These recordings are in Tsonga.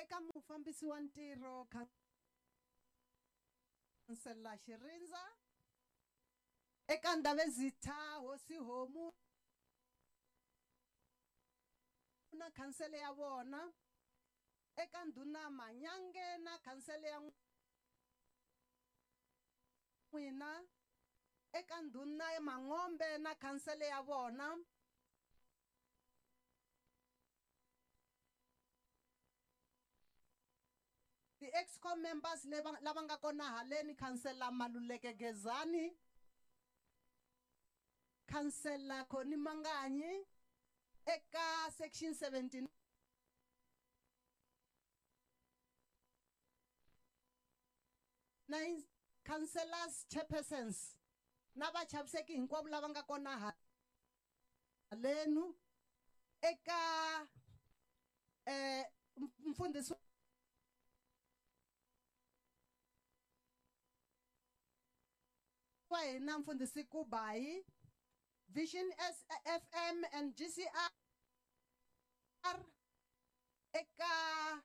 Eka mufambisi wa ntirho Khansela Xirindza, eka Ndhavezitha Hosi Homu na khansele ya vona, eka Ndhuna Manyange na khansele ya n'wina, eka Ndhuna Mangombe na khansele ya vona, ti-excom members lava nga kona haleni, Khansela Maluleke Gezani, Khansela Khoni Manganyi, eka section 79 councillors, chairpersons na vachaviseki hinkwavo lava nga kona halenu, eka mfundhisi wa hina mfundhisi Kubayi, Vision SFM and GCR, eka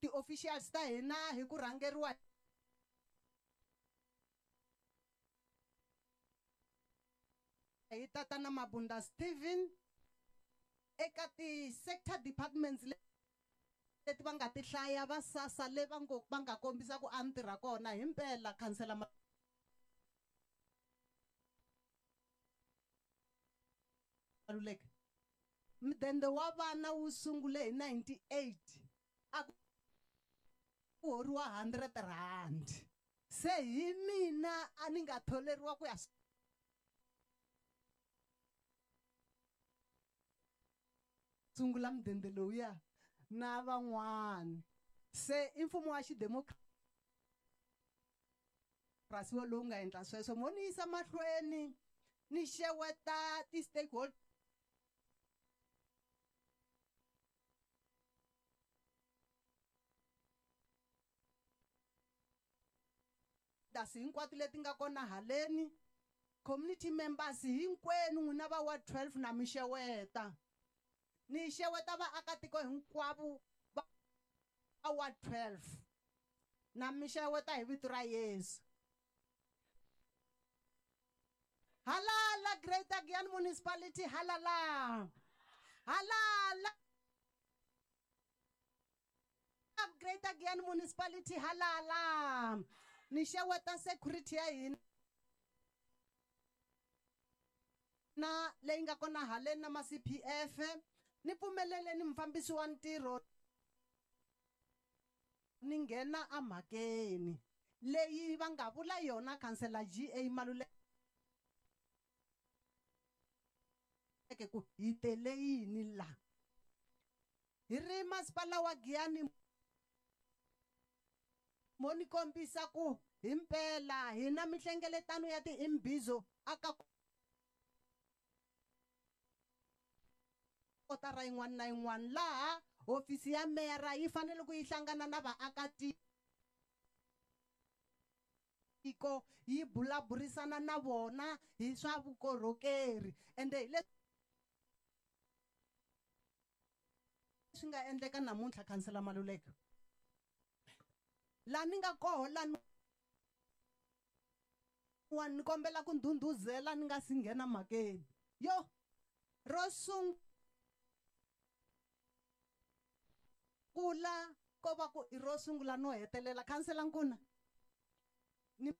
ti-officials ta hina hi ku rhangeriwa hi Tatana Mabunda Steven, eka ti-sector departments leti va nga ti hlaya va SASSA le va ngo va nga kombisa ku a ni tirha kona himpela Khansela Maluleke. Mudende wa vana wu sungule hi 98, a ku horiwa 100 rand. Se hi mina a ni nga tholeriwa ku ya sungula mudende lowuya na van'wani. Se i mfumo wa xidemokirasi lowu nga endla sweswo. Mo ni yisa mahlweni ni xeweta ti-stakeholders hinkwato leti nga kona haleni, community members hinkwenu n'wina va ward 12 na mi xeweta. Ni xeweta vaakatiko hinkwavo va ward 12 na mi xeweta hi vito ra Yesu. Halala Greater Giyani Municipality, halala. Halala Greater Giyani Municipality, halala. Ni xeweta security ya hina na leyi nga kona haleni na ma CPF. Ni pfumeleleni mufambisi wa ntirho ni nghena emhakeni leyi va nga vula yona Khansela GA Maluleke ku hi tele yini la. Hi ri masipala wa Giyani mo ni kombisa ku himpela hina mihlengeletano ya ti-imbizo aka kotara yin'wana na yin'wana, laha hofisi ya meyara yi fanele ku yi hlangana na vaakatiko yi bulaburisana na vona hi swa vukorhokeri. Ende hi leswi swi nga endleka namuntlha Khansela Maluleke, laha ni nga koho lani ni kombela ku ndhundhuzela ni nga si nghena mhakeni yo ro sungula ko va ku i ro sungula no hetelela. Khansela Nkuna, ni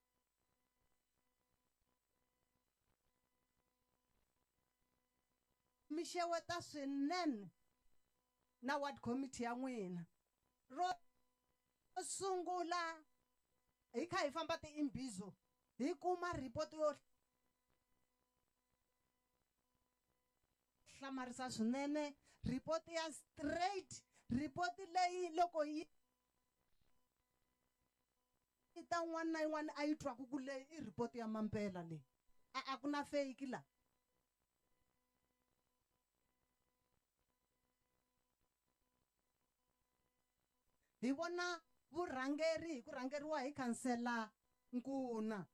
mi xeweta swinene na ward committee ya n'wina. Ro sungula hi kha hi famba ti-imbizo hi kuma report yo hlamarisa swinene, report ya straight, report leyi loko yi ta un'wana na yin'wana a yi twaku ku leyi i report ya mampela leyi, a ku na fake la. Hi vona vurhangeri hi ku rhangeriwa hi Khansela Nkuna.